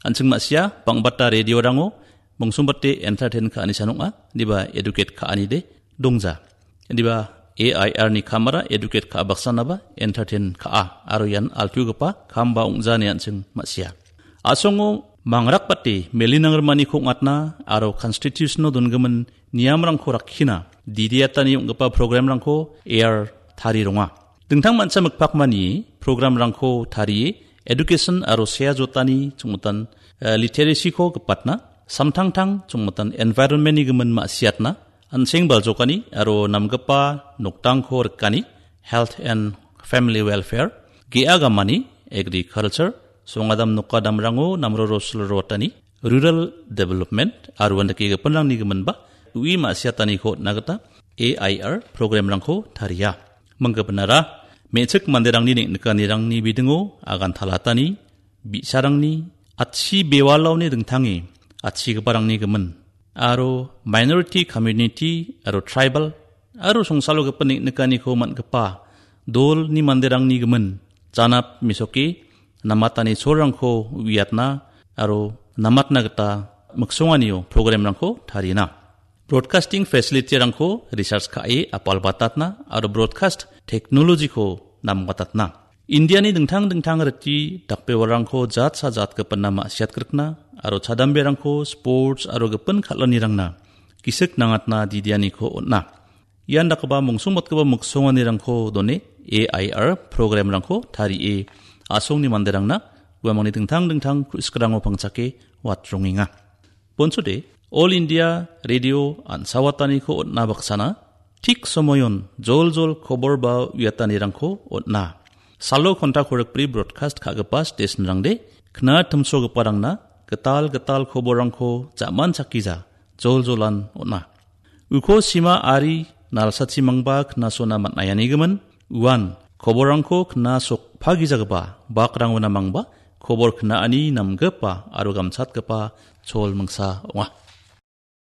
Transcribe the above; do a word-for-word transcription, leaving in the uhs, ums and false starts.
An·ching ma·sia, bang·bata radiorango mongsongbate entertain ka·ani san ong·a, indiba educate ka·anide dongja. Indiba A I R ni kamara educate ka·a baksanaba entertain ka·a, aro ian altugipa kamba ong·ja ine an·ching ma·sia. A·songo mangrakbate melinangrimaniko ong·atna aro constitution-o dongimin niamrangko rakkina didiatani ong·gipa programrangko A I R tari ronga. Dingtang mancha mikpakmani programrangko tarie education aro sea jotani chongmotan, eh, literacy-ko gipatna, samtangtang chongmotan environment-ni gimin ma·siatna, an·seng baljokani aro namgipa nokdangko rikani, health and family welfare, ge·a gamani, agriculture, songadam nokadamrango namroro silrotani, rural development, aro uandake gipinrangni giminba, ui ma·siataniko on·na gita A I R programrangko taria. Manggipanara, me·chik manderangni neng·nikanirangni bidingo agantalatani, bi·sarangni, atchi bewalaoni dingtange, atchigiparangni gimin, aro minority community, aro tribal, aro songsalo gipin neng·nikaniko man·gipa dolni manderangni gimin, janap mesoke, namatani cholrangko uiatna, aro namatna gita miksonganio programrangko tarina. Broadcasting facility-rangko research ka·e apalbatatna aro broadcast technology-ko nambatatna. Indiani dingtang dingtang riti dakbewarangko jatsa jatgipina ma·siatgrikna aro chadamberangko sports aro gipin kal·anirangna gisik nangatna didianiko on·a. Ian dakgipa mongsongbatgipa miksonganirangko done A I R programrangko tarie a·songni manderangna uamangni dingtang dingtang ku·sikrango pangchake watrongenga. Bonsode, All India Radio an·sawataniko on·na baksana, tik somoyon jol jol kobor ba uiatanirangko on·a. Salo konta korikbri broadcast ka·gipa stationrangde, kna timsogiparangna gital gital koborrangko ja·manchakgija jol jolan on·a. Uko sima ari nalsachimangba knasona man·aianigimin, uan koborrangko knasokpagijagipa bakrangona mangba kobor knaani namgipa aro gamchatgipa chol mingsa ong·a.